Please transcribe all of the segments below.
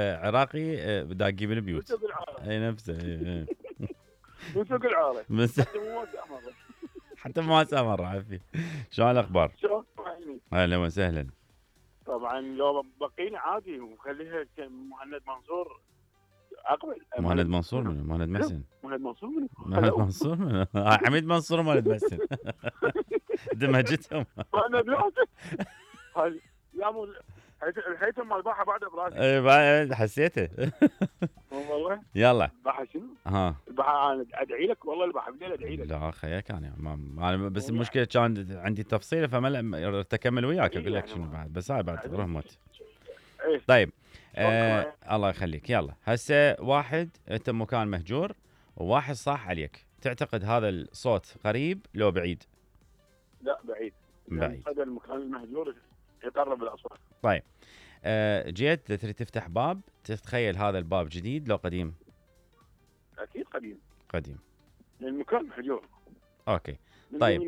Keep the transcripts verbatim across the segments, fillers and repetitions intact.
عراقي داقي بالبيوت. وسوق العاره. اي نفسه. اي وسوق العاره. بس حتى مواساه مره. حتى مواساه مره عافيه. شلون الاخبار؟ شلون؟ اهلا وسهلا. طبعا لو بقينا عادي وخليها مهند منصور اقبل. مهند منصور منو؟ مهند محسن. مهند منصور منو؟ مهند منصور منو؟ حميد منصور مهند محسن. دمجتهم. انا بلعبك. هاي يا مو الهيثم مال باحه بعده براسي. اي بعد حسيته. والله. يلا. الباحه شنو؟ ها. الباحه انا ادعي لك والله الباحه بالليل ادعي لك. لا خياك انا ما انا بس المشكله كان عندي تفصيله فما اكمل وياك اقول لك شنو بعد بس هاي بعد رحمت. طيب آه الله يخليك. يلا هسه واحد انت مكان مهجور وواحد صاح عليك، تعتقد هذا الصوت قريب لو بعيد؟ لا بعيد. بعيد. هذا المكان المهجور يقرب الاصوات. طيب آه جيت تريد تفتح باب، تتخيل هذا الباب جديد لو قديم؟ اكيد قديم. قديم. المكان مهجور. اوكي. طيب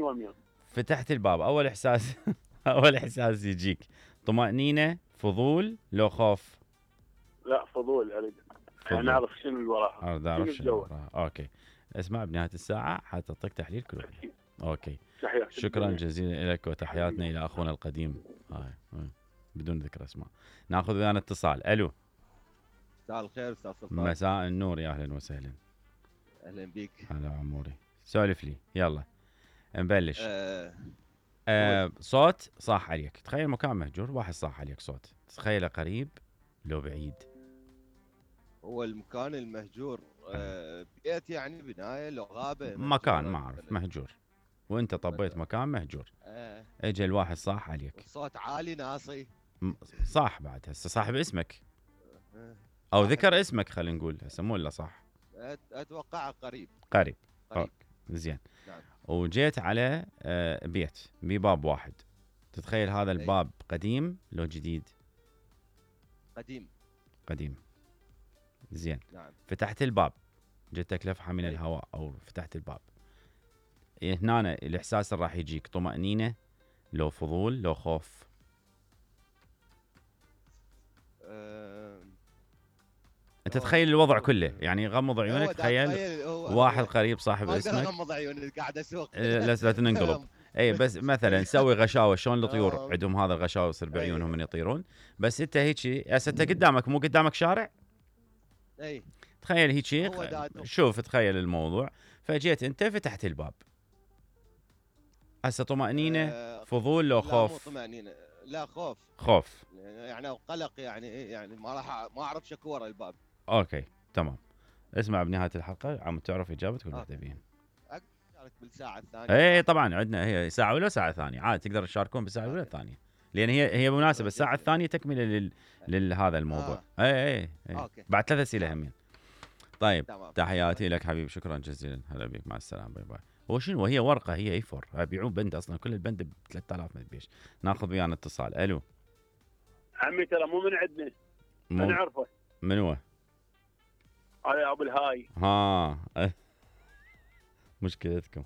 فتحت الباب، اول احساس اول احساس يجيك طمأنينة، فضول، لو خوف؟ لا فضول اريد يعني اعرف شنو اللي وراها. اريد اعرف شنو وراها. اوكي. اسمع بنهاية الساعة حتعطيك تحليل كل واحد. اوكي. تحياتي. شكرا جزيلا لك وتحياتنا الى اخونا القديم. هاي بدون ذكر اسماء. ناخذ ويانا اتصال. الو. مساء الخير استاذ سلطان. مساء النور يا اهلا وسهلا. اهلا بيك. هلا عموري. سولف لي يلا نبلش. أه آه صوت صاح عليك، تخيل مكان مهجور واحد صاح عليك صوت، تخيله قريب لو بعيد؟ هو المكان المهجور آه بيت يعني بنايه لو غابه؟ مكان ما اعرف مهجور وانت طبيت مكان مهجور. أه اجى الواحد صاح عليك. صوت عالي ناصي. صاح بعد هسه صاحب اسمك او ذكر اسمك خلينا نقول هسه مو الا صح. اتوقع قريب. قريب. قريب. زين. نعم. وجيت على بيت بباب واحد، تتخيل هذا الباب قديم لو جديد؟ قديم. قديم. زين. نعم. فتحت الباب، جتك لفحه من الهواء او فتحت الباب، هنا الاحساس اللي راح يجيك طمأنينة لو فضول لو خوف؟ أه... انت تخيل الوضع كله يعني غمض عيونك، تخيل واحد قريب صاحب اسمك. ما اغمض عيوني قاعد اسوق. لا لا تنقلب. اي بس مثلا سوي غشاوه شلون الطيور عندهم هذا الغشاوه يصير بعيونهم من يطيرون، بس انت هيك هسه انت قدامك مو قدامك شارع؟ اي تخيل هيك شوف تخيل الموضوع، فجيت انت فتحت الباب هسه طمأنينة أه فضول لو خوف؟ لا مو طمأنينة، لا خوف. خوف يعني قلق يعني يعني ما راح ما اعرف شكو ورا الباب. اوكي تمام. اسمع بنهايه الحلقه عم تعرف اجابه كل واحده بيهم. اشارك بالساعه الثانيه. اي طبعا عندنا هي ساعه ولا ساعه ثانيه عادي تقدر تشاركون بالساعه الاولى الثانيه، لان هي هي مناسبه الساعه الثانيه تكمله لل لهذا الموضوع. آه. اي اي, أي. أوكي. بعد ثلاث اسئله همين. طيب تمام. تحياتي لك حبيبي شكرا جزيلا. هلا بك مع السلامه باي باي. هو شنو هي ورقه هي اي فور يبيعون بند اصلا كل البند ب ثلاثة آلاف ما تبيش. ناخذ ويانا اتصال. الو. عمي ترى مو من عندنا. مو... انا اعرفه. من هو؟ هذا ابو الهاي. ها مشكلتكم.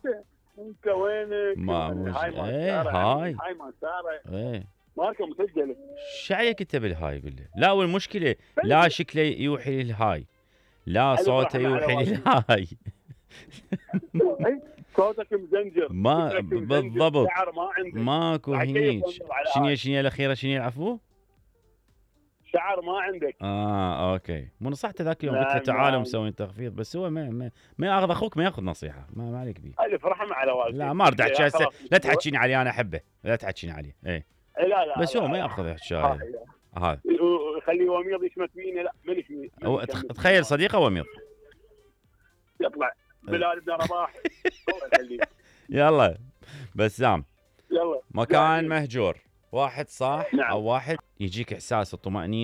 انت وينك؟ ما مش هاي ما ايه هاي هاي ما ساره. ايه ماركه مسجله. شعيك انت بالهاي بالله؟ لا والمشكله لا شكله يوحي للهاي لا صوته يوحي للهاي. صوتك مزنجر. ما بالضبط. شعر ما عندك. ماكو هنيك. شنو شنو الاخيره شنو العفو؟ شعر ما عندك. اه اوكي مو نصحته ذاك اليوم قلت له تعالوا مسوين تخفيض بس هو ما ما, ما ياخذ اخوك ما ياخذ نصيحه ما, ما عليك بيه. الف رحمه على والديك. لا ما ارد احكي هسه لا تحكيني عليه انا احبه لا تحكيني عليه اي لا لا بس هو ما ياخذ الشاي هذا خليه وميض يشمت فيني. لا مانيش تخيل صديقه وميض يطلع بلال بن رباح. يلا بسام. يلا مكان مهجور واحد صاح. نعم. او واحد يجيك احساس الطمأنينة